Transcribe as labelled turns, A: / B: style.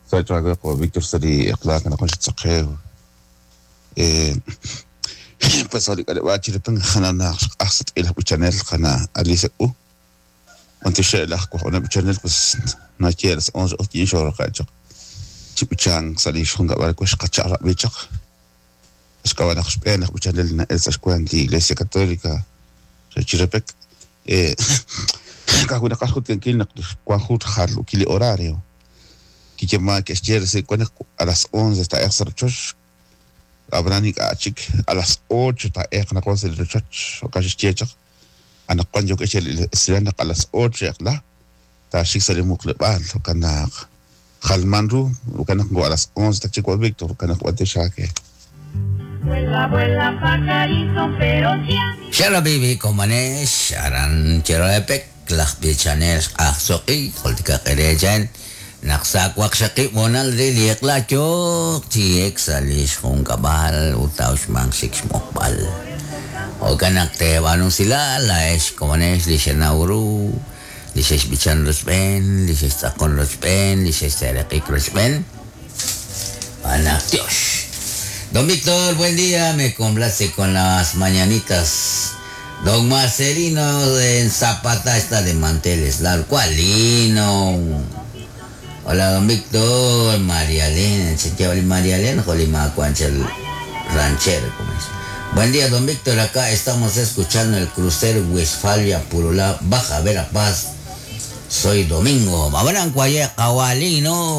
A: Sa' qawa' Víctor sa' li eq'la anaqwan xtz'aqew pues sa' li k'aleb'aal Chiripán jananaq xq'aj sutq'i laj b'ichanel qana' Alicia K'u b'antiox laj wajb'anel b'ichanel pues naye las 11 q'oqyin xoo'raqe' chaq chi b'ichank sa' li xjunkab'al we xqachaq'rab'i chaq xk'ab'a' naq xb'een laj b'ichanel na'el sa' xkuent li Iglesia Católica re Chirepec ka'ajwi' naqaj xjultikankil naq wan jun rjalukil li horario kiyeeman ke'xye resil wan naq a las 11 taa'elq sa' rochoch ab'anan ink'a' chik a las 8 taa'elq anaqwan sa' li rochoch jo'kan xe'xye chaq anaqwan yookeb' xye li esilal naq a las 8 eq'la taaxik sa' li muqleb'aal jo'kan naq jalman ru jo'kan naq a las 11 ta chik wa Víctor jo'kan naq b'antiox aake.
B: Vuela, vuela, pajarito, pero si a mí
C: Xerabibi komanex aran Cheroepec laj b'ichanel xq'aj soq'i jultikaq erechen naq sa' waqxaqib' hoonal re li eq'la yooq chi ek sa' li xjunkab'al ut taa'uxmanq xik xmuqb'al. Jo'kan naq teeb'aanu usilal laa'ex komonex li xenaw ru, li xexb'ichan rochb'een, li xextz'aqon rochb'een, li xexseeraq'ik rochb'een. B'anaq tiox. Don Víctor, buen día, me complace con las mañanitas. Don Marcelino en Zapata está de manteles largos. ¿Cuál lino? Hola, don Víctor, María Elena, chequea María Elena, Jolima Cuanchel ranchero, como es. Buen día, don Víctor, acá estamos escuchando el crucero Westfalia, Purulá, Baja Verapaz. Soy Domingo. Mabaran Cuaye, Kawalino.